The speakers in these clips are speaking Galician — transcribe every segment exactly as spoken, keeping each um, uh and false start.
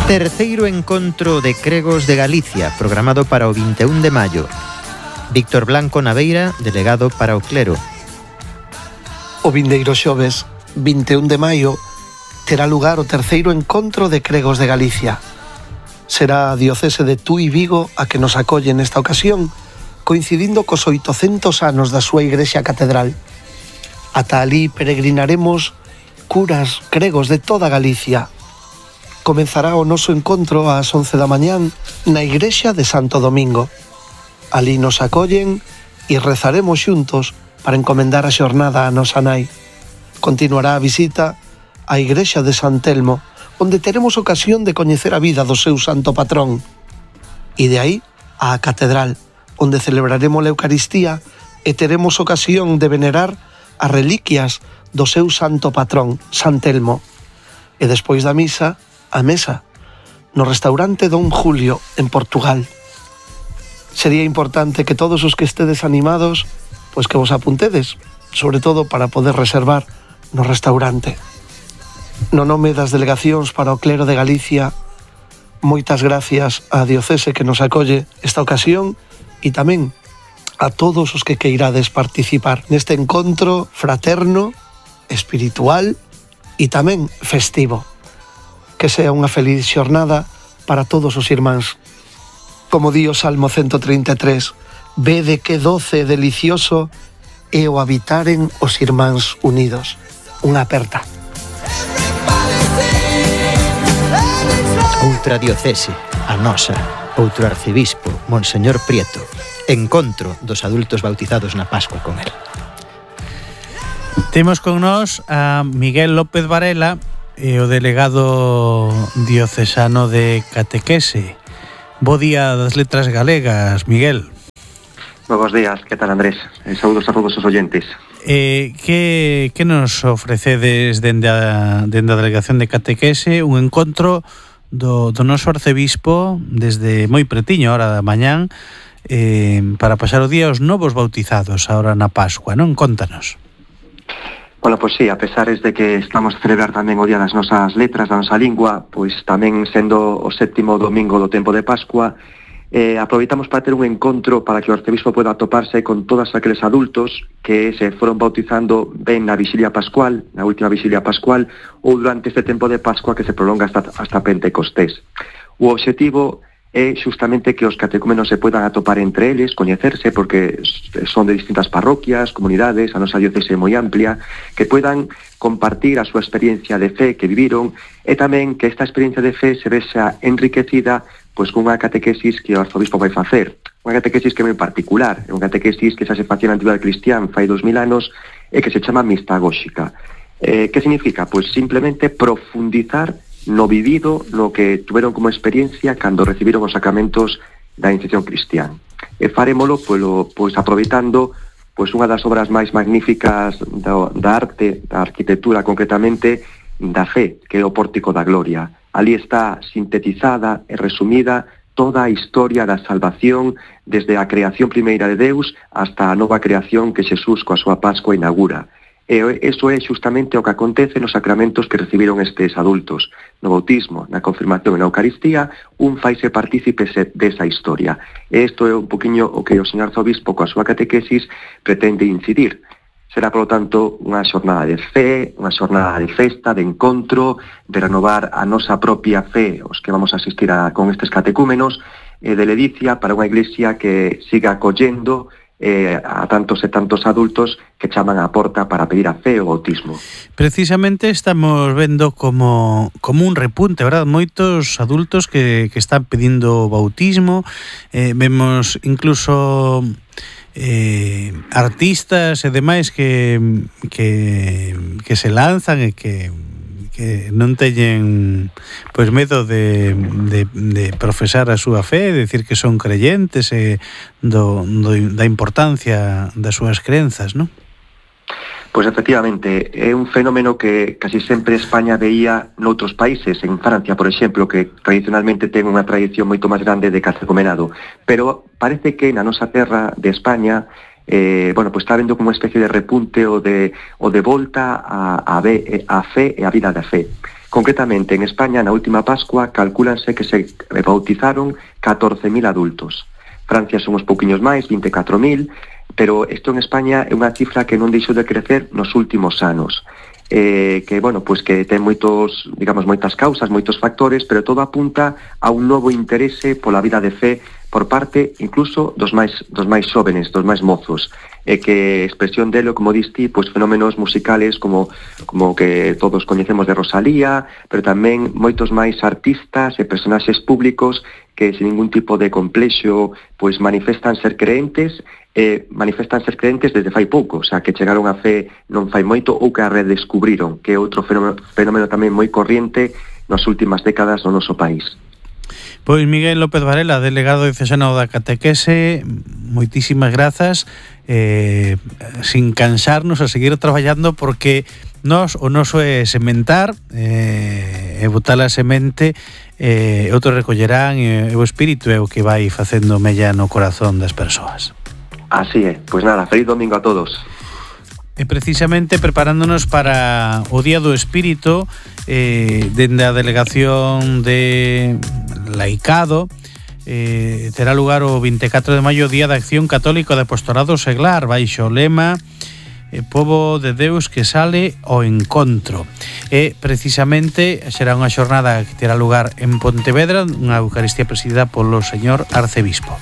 Terceiro encontro de cregos de Galicia, programado para o vinte e un de maio. Víctor Blanco Naveira, delegado para o clero. O vindeiro xoves, vinte e un de maio, terá lugar o terceiro encontro de cregos de Galicia. Será a diocese de Tui Vigo a que nos acolle nesta ocasión, coincidindo cos oitocentos anos da súa igrexa catedral. Ata alí peregrinaremos curas cregos de toda Galicia. Comenzará o noso encontro ás once da mañán na igrexa de Santo Domingo. Alí nos acollen e rezaremos xuntos para encomendar a xornada a nosa nai. Continuará a visita á igrexa de San Telmo, onde teremos ocasión de coñecer a vida do seu santo patrón. E de aí á catedral, onde celebraremos a Eucaristía e teremos ocasión de venerar as reliquias do seu santo patrón, San Telmo. E despois da misa, a mesa, no restaurante Don Julio, en Portugal. Sería importante que todos os que estedes animados, pois que vos apuntedes, sobre todo para poder reservar no restaurante. No nome das delegacións para o clero de Galicia, moitas gracias á diocese que nos acolle esta ocasión e tamén a todos os que queirades participar neste encontro fraterno, espiritual e tamén festivo. Que sea unha feliz xornada para todos os irmáns. Como di o Salmo ciento treinta e tres, vede que doce e delicioso é o habitaren os irmáns unidos. Unha aperta. Outra diocese, a nosa, outro arcebispo, Monseñor Prieto. Encontro dos adultos bautizados na Pascua con el. Temos con nós a Miguel López Varela, e o delegado diocesano de Catequese. Bo día das letras galegas, Miguel. Bos días, que tal, Andrés? E saúdos a todos os oyentes. Eh, que, que nos ofrecedes dende a, dende a delegación de Catequese un encontro do, do noso arcebispo desde moi pretiño, a hora da mañán, eh, para pasar o día os novos bautizados ahora na Pascua, non? Contanos. Bueno, pois sí, a pesares de que estamos a celebrar tamén o Día das nosas letras, da nosa lingua, pois tamén sendo o séptimo domingo do tempo de Pascua, eh, aproveitamos para ter un encontro para que o arcebispo poda atoparse con todos aqueles adultos que se foron bautizando ben na Vixilia Pascual, na última Vixilia Pascual, ou durante este tempo de Pascua que se prolonga hasta, hasta Pentecostés. O obxectivo é justamente que os catecúmenos se poidan atopar entre eles, coñecerse, porque son de distintas parroquias, comunidades, a nosa diocese é moi amplia, que poidan compartir a súa experiencia de fe que viviron e tamén que esta experiencia de fe se vexa enriquecida pois cunha catequesis que o arzobispo vai facer. Unha catequesis que é moi particular, é unha catequesis que xa se facía na Antigüedade Cristián fai dos mil anos e que se chama mistagóxica. Eh, que significa? Pois simplemente profundizar no vivido, no que tuveron como experiencia cando recibiron os sacramentos da iniciación cristián. E farémolo pois, pois aproveitando pois unha das obras máis magníficas da, da arte, da arquitectura concretamente, da fe, que é o Pórtico da Gloria. Ali está sintetizada e resumida toda a historia da salvación desde a creación primeira de Deus hasta a nova creación que Xesús coa súa Pascua inaugura. E iso é justamente o que acontece nos sacramentos que recibiron estes adultos. No bautismo, na confirmación e na Eucaristía, un faise partícipe desa historia. E isto é un poquinho o que o señor arzobispo coa súa catequesis pretende incidir. Será, polo tanto, unha xornada de fe, unha xornada de festa, de encontro, de renovar a nosa propia fe, os que vamos a asistir a, con estes catecúmenos, e de ledicia para unha iglesia que siga acollendo Eh, a tantos e tantos adultos que chaman á porta para pedir a fe o bautismo. Precisamente estamos vendo como, como un repunte, verdad? Moitos adultos que, que están pedindo bautismo, eh, vemos incluso eh, artistas e demais que, que, que se lanzan e que que non teñen pois medo de, de, de profesar a súa fe, de decir que son creyentes e do, do, da importancia das súas crenzas, non? Pois efectivamente, é un fenómeno que casi sempre España veía noutros países, en Francia, por exemplo, que tradicionalmente ten unha tradición moito máis grande de catecumenado, pero parece que na nosa terra de España eh, bueno, pues está habendo como unha especie de repunte ou de, ou de volta a, a, ve, a fe e a vida da fe. Concretamente, en España, na última Pascua, calcúlanse que se bautizaron catorce mil adultos. Francia son uns pouquiños máis, vinte e catro mil, pero isto en España é unha cifra que non deixou de crecer nos últimos anos. Eh, que, bueno, pues que ten moitos, digamos, moitas causas, moitos factores, pero todo apunta a un novo interese pola vida de fe por parte incluso dos máis dos máis xóvenes, dos máis mozos, e que expresión delo, como diste, pues fenómenos musicales como como que todos coñecemos de Rosalía, pero tamén moitos máis artistas e personaxes públicos que sin ningún tipo de complexo pues manifestan ser creentes e manifestan ser creentes desde fai pouco, o sea, que chegaron a fe non fai moito ou que a redescubriron, que é outro fenómeno, fenómeno tamén moi corriente nas últimas décadas no noso país. Pois Miguel López Varela, delegado diocesano da catequese, moitísimas grazas, eh, sin cansarnos a seguir traballando, porque nós o noso é sementar, eh, e botar a semente, eh, outros recollerán, e o espírito é o que vai facendo mella no corazón das persoas. Así é, pois nada, feliz domingo a todos. E precisamente preparándonos para o Día do Espírito, eh, dende a Delegación de Laicado, eh, terá lugar o vinte e catro de maio, Día da Acción Católica de Apostolado Seglar, baixo o lema eh, Pobo de Deus que sale ao encontro. E precisamente será unha xornada que terá lugar en Pontevedra, unha Eucaristía presidida polo señor Arcebispo.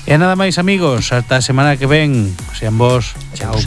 E nada máis, amigos, ata a semana que ven. Sean vos. Chao.